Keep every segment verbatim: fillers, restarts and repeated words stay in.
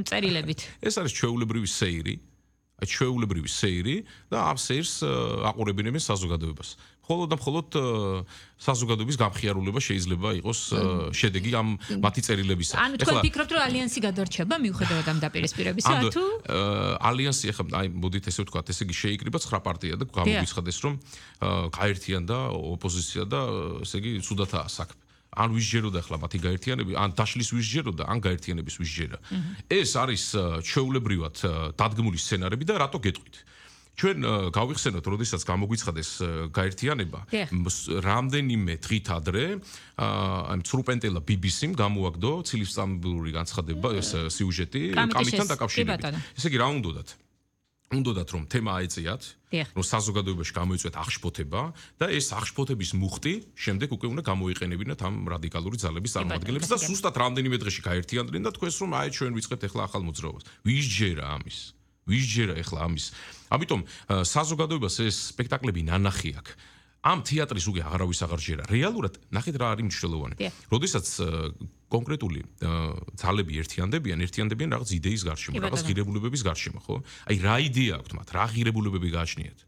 წერილებით. ეს არის ჩვეულებრივი სეირი. აი ჩვეულებრივი სეირი და ამ სეირს აყურებინებენ საზოგადოებას. მხოლოდ და მხოლოდ საზოგადოების გამხიარულება შეიძლება იყოს შედეგი ამ მათი წერილებისა. ანუ თქვენ ფიქრობთ, რომ ალიანსი გადარჩება მიუხედავად ამ დაპირისპირებისა, თუ ალიანსი ახლა აი მოდით ესე ვთქვათ, ესე იგი შეიკრიბა ცხრა პარტია და გამოგვიცხადეს, რომ გაერთიანდა ოპოზიცია და ესე იგი ცუდათაა საქმე. ან ვისჯეროდა ახლა მათი გაერთიანები, ან დაშლის ვისჯეროდა, ან გაერთიანების ვისჯერა. ეს არის ჩვეულებრივად დადგმული სცენარები და რატო გეტყვით? ჩვენ გავიხსენოთ, როდესაც გამოგვიცხადეს გაერთიანება, რამდენიმე დღით ადრე აი მწრუპენტელა ბი ბი სიმ გამოაგდო ცილისწამბური განცხადება, ეს სიუჟეტი კამიტთან დაკავშირებით. ესე იგი რა უნდათ? უნდათ რომ თემა აეწიათ, რომ საზოგადოებაში გამოიწვიათ აღშფოთება და ეს აღშფოთების მუხტი შემდეგ უკვე უნდა გამოიყენებინათ ამ რადიკალური ძალების წარმომადგენლებს და სუსტად რამდენიმე დღეში გაერთიანდნენ და თქვენს რომ აი ჩვენ ვიწყებთ ახლა ახალ მოძრაობას. ვის ჯერა ამის? ვის ჯერა ახლა ამის? ამიტომ საზოგადოებას ეს სპექტაკლები ნანახი აქვს. ამ თეატრის უკვე აღარავის აღარ ჯერა. რეალურად ნახეთ რა არის მნიშვნელოვანი. როდესაც კონკრეტული ძალები ერთიანდებიან, ერთიანდებიან რაღაც იდეის გარშემო, რაღაც ღირებულებების გარშემო, ხო? აი რა იდეა აქვთ მათ? რა ღირებულებები გააჩნიათ?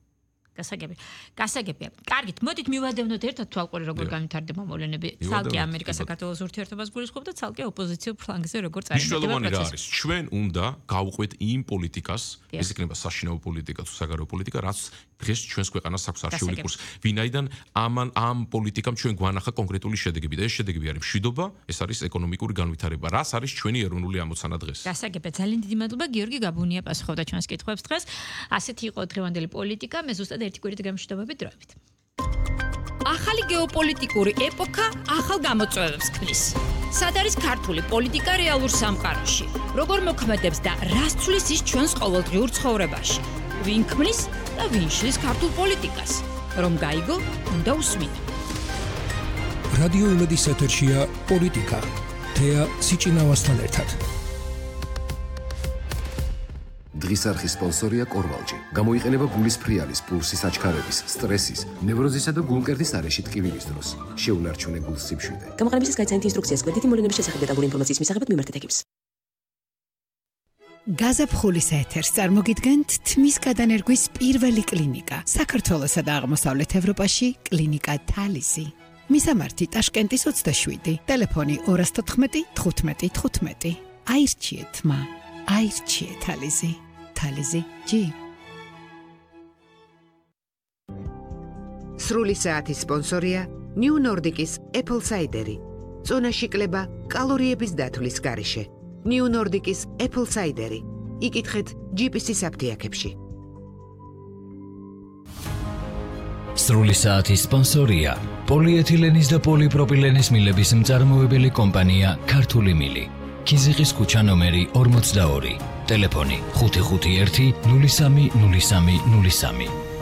გასაგები. გასაგებია. კარგით, მოდით მივადევნოთ ერთად თვალყური როგორ განვითარდება მოვლენები. ცალკე ამერიკა-საქართველოს ურთიერთობას გულისხმობ და ცალკე ოპოზიციურ ფლანგზე როგორ წარიმარდება პროცესი. რა არის? ჩვენ უნდა გავუყვეთ იმ პოლიტიკას, ეს იქნება საშინაო პოლიტიკა თუ საგარეო პოლიტიკა, რაც დღეს ჩვენს ქვეყანას აქვს არჩეული კურსი. ვინაიდან ამან ამ პოლიტიკამ ჩვენ გვანახა კონკრეტული შედეგები და ეს შედეგები არის მშვიდობა, ეს არის ეკონომიკური განვითარება. რას არის ჩვენი ეროვნული ამოცანა დღეს? გასაგებია. ძალიან დიდი მადლობა გიორგი გაბუნია პასუხობდა ჩვენს კითხვებს დღეს. ასეთი იყო დღევანდელი პოლიტიკა, მე ზუსტად ერთი კვირით გამშვიდობებით დროებით. ახალი გეოპოლიტიკური ეპოქა ახალ გამოწვევებს ქმნის. სად არის ქართული პოლიტიკა რეალურ სამყაროში? როგორ მოქმედებს და რას ცვლის ის ჩვენს ყოველდღიურ ცხოვრებაში? ვინ ქმნის და ვინ შლის ქართულ პოლიტიკას? რომ გაიგო, უნდა უსმინო. რადიო იმედის ეთერშია პოლიტიკა. თეა სიჭინავასთან ერთად. დღის არხის სპონსორია კორვალჯი. გამოიყენება გულის ფრიალის, პულსის აჩქარების, სტრესის, ნევროზისა და გულმკერდის არეში ტკივილის დროს. შეუნარჩუნე გულს სიმშვიდე. გამოყენებისას გაიცანით ინსტრუქციას კვეთითი მოვლენების შესახებ დეტალური ინფორმაციის მისაღებად მიმართეთ ეკიპს. გაზაფხულის ეთერს წარმოგიდგენთ თმის გადანერგვის პირველი კლინიკა. საქართველოსა და აღმოსავლეთ ევროპაში კლინიკა თალისი. მისამართი ტაშკენტის ოცდაშვიდი, ტელეფონი ორას თოთხმეტი თხუთმეტი თხუთმეტი. აირჩიეთ მა, აირჩიეთ თალისი. თალისი ჯი. სრული საათის სპონსორია New Nordic-ის Apple Cider-ი. წონაში კლება კალორიების დათვლის გარეშე. New Nordic-ის Apple Cider-ი. იკითხეთ ჯი პი სი საფთიაქებში. სრული საათის სპონსორია პოლიეთილენის და პოლიპროპილენის მილების მწარმოებელი კომპანია ქართული მილი. ქიზიყის ქუჩა ნომერი ორმოცდაორი. ტელეფონი ხუთი ხუთი ერთი ნული სამი ნული სამი ნული სამი.